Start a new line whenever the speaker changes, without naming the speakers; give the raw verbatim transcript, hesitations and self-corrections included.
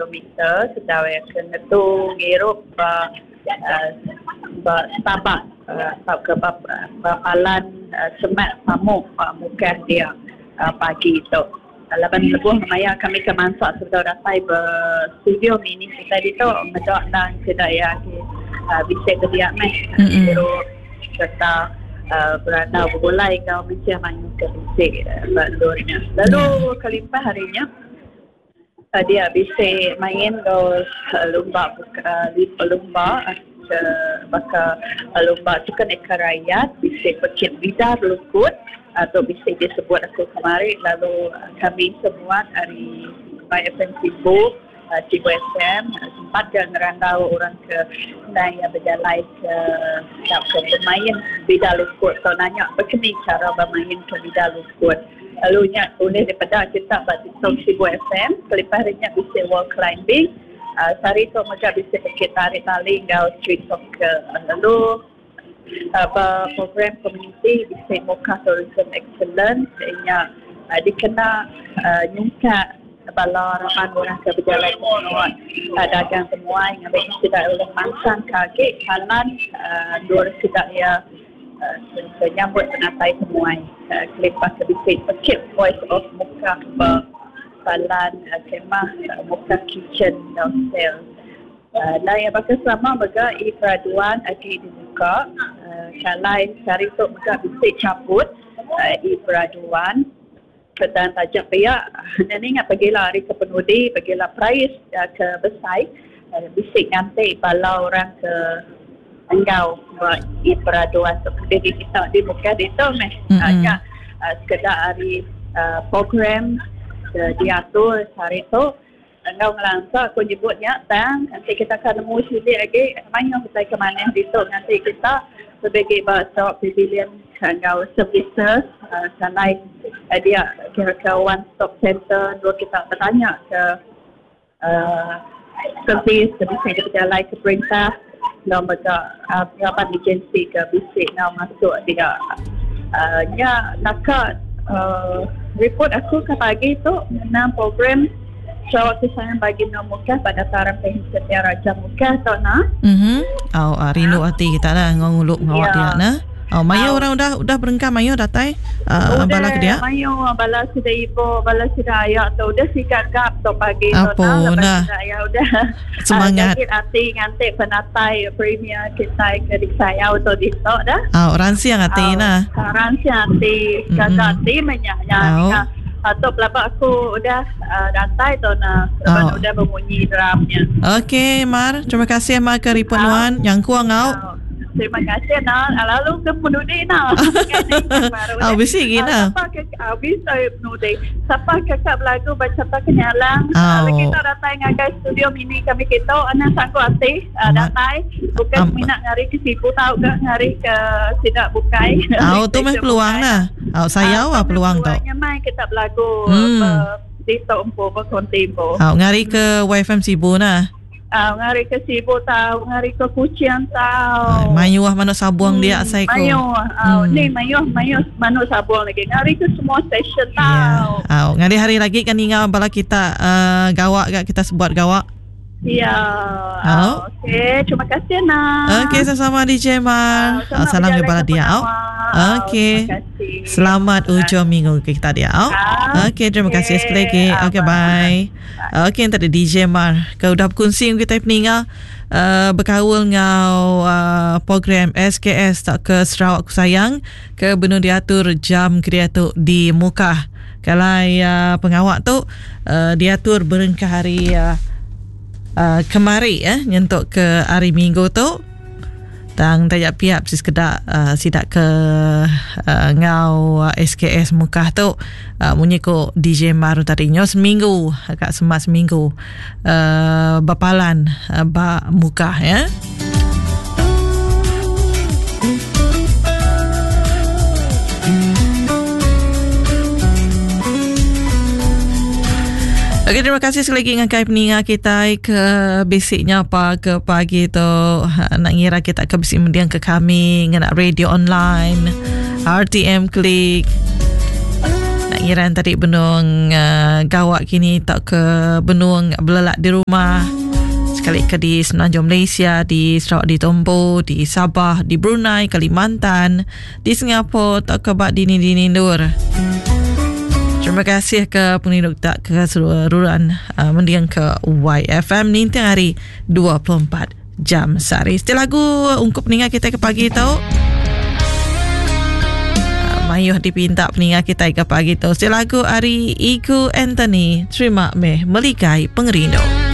kilometer sedau ya ke ngetu ngirup ba uh, ba Sabah uh, atau ke ba, ba Palan uh, Semak Pamuk uh, Mukah dia uh, pagi tu. Laban lebuh maya kami ke mansak sebedau datai be studio mini kita ditu medak nang kedai uh, bisa ke dia meh ngirup serta uh, berandau bergulai kau mesti mayu ke bisik uh, bandurnya. Lalu kelimpah harinya uh, dia bisa main ke uh, lumba uh, lumba uh, baka uh, lumba sukan eka rakyat bisa pekit bidar lukut atau bisa disebut aku kemarin. Lalu uh, kami semua hari by F M Sibu uh, Sibu F M uh, sempat ke ngerandau orang ke naya berjalan ke ke bermain bidar lukut atau nanya berkini cara bermain ke bidar lukut. Lalu nya boleh daripada kita buat TikTok Sibu F M, kelimpah harinya bisa wall climbing, uh, sehari tu mereka bisa pergi tarik tali ngau street soccer. Lalu uh, program community bisa Mukah Tourism Excellence nya uh, dikena uh, nyungkak bala raban orang ke berjalan ke uh, dagang temuai ngambil tidak oleh mansang kaki kanan uh, dua tidak ya uh, menyambut penatai temuai uh, kelimpah ke bisik pekit Voice of Mukah Balan uh, kemah uh, Mukah Kitchen Hotel. Uh, dan yang bakal selama mega i peraduan agi dibuka uh, calai sehari tu mega bisik cabut uh, i peraduan dan tajak pihak dan ingat pergilah hari ke penudi pergilah prize uh, ke besai uh, bisik nanti bala orang ke enggau buat i peraduan tu jadi kita di Mukah itu meh mm-hmm. uh, uh, sekedar hari uh, program uh, diatur hari tu engau ngelangsa aku nyebutnya tang nanti kita akan nemu sini lagi main kita ke mana di tu nanti kita sebagai bahasa pavilion engau services uh, selain uh, dia kira-kira one stop center dua kita bertanya ke uh, servis bisa berjalan ke perintah dan mereka uh, rapat agensi ke bisik nak masuk dia uh, nya nakak uh, report aku ke pagi tu mengenai program Sarawak Kesayang bagi Menua Mukah pada taraf Setia Raja Mukah tau nak.
Mhm. Oh, uh, rindu hati kita lah nguluk ngawak dia nah. Oh, mayo oh. Orang udah udah berengkah mayo datai uh, bala ke dia.
Mayo bala sudah ibu, bala sudah ayah tu udah sikat gap tu pagi tu
nah. Nah.
Ayah udah
semangat.
Uh, hati ngantik penatai premier kita ke disayau tu di tu dah.
Oh, orang siang hati nah.
Orang siang hati, kakak hati menyanya. Atau pelabak aku udah uh, datai tu nah, oh. Udah berbunyi drumnya.
Okey, Mar, terima kasih Mar ke report oh. Nuan yang kuang au.
Oh. Terima kasih nah. Lalu ke penudi nah.
Oh, bisi gina.
Siapa ke bisa penudi. Siapa kakak berlagu baca tak kenyalang.
Oh.
Lagi kita datai ngagai studio mini kami kita anak sanggup hati uh, datai bukan um. minat ngari ke Sibu tau ke ngari ke sidak bukai.
Oh, tu meh peluang nah. Oh, saya ah peluang tu.
Mai kita berlagu
hmm.
di tok empu berkonti empu.
Oh, ngari ke Y F M Sibu nah.
Uh, ngari ke Sibu tau, ngari ke Kuching tau.
Mayuh manuk sabuang hmm, dia saya ko.
Mayuh, uh, hmm. ni mayuh mayuh manuk sabuang lagi. Ngari ke semua station tau.
Yeah. Oh, ngari hari lagi kan ingat bala kita uh, gawak gak kita sebuat gawak.
Ya.
Oh.
Okey, terima kasih nah.
Okey, sama-sama D J Mar.
Uh,
salam kepada dia. Oh. Okey. Selamat hujung minggu kita dia. Oh. Okey, terima okay. kasih sekali lagi. Okey, bye. bye. Okey, tadi D J Mar. Kau dah berkongsi kita peninga uh, berkaul ngau uh, program S K S tak ke Sarawak Sayang ke benung diatur jam kreatur di Mukah. Kalau uh, pengawak tu uh, diatur berengkah hari uh, Uh, kemari eh nyentuk ke hari Minggu tu tang tajak piap si sekedak uh, sidak ke uh, ngau uh, S K S Mukah tu uh, munyi ko D J Maru tadi nyo seminggu agak semat seminggu uh, bapalan uh, ba Mukah ya. Okey, terima kasih sekali lagi dengan kai peninga kita ke basicnya apa ke pagi tu nak ngira kita ke bisik mendiang ke kami ngena radio online R T M Klik. Nak Ngiran tadi benung uh, gawak kini tak ke benung belelak di rumah. Sekali ke di Semenanjung Malaysia, di Sarawak, di Tombo, di Sabah, di Brunei, Kalimantan, di Singapura, tak ke bak dini-dini nur. Terima kasih ke penginuk tak ke seluruhan uh, mendiang ke Y F M ni tiap hari dua puluh empat jam sehari. Setelah lagu ungkup peningat kita ke pagi tu. Uh, mayuh dipinta peningat kita ke pagi tu. Setelah lagu ari Iku Anthony, terima meh meligai pengerindu.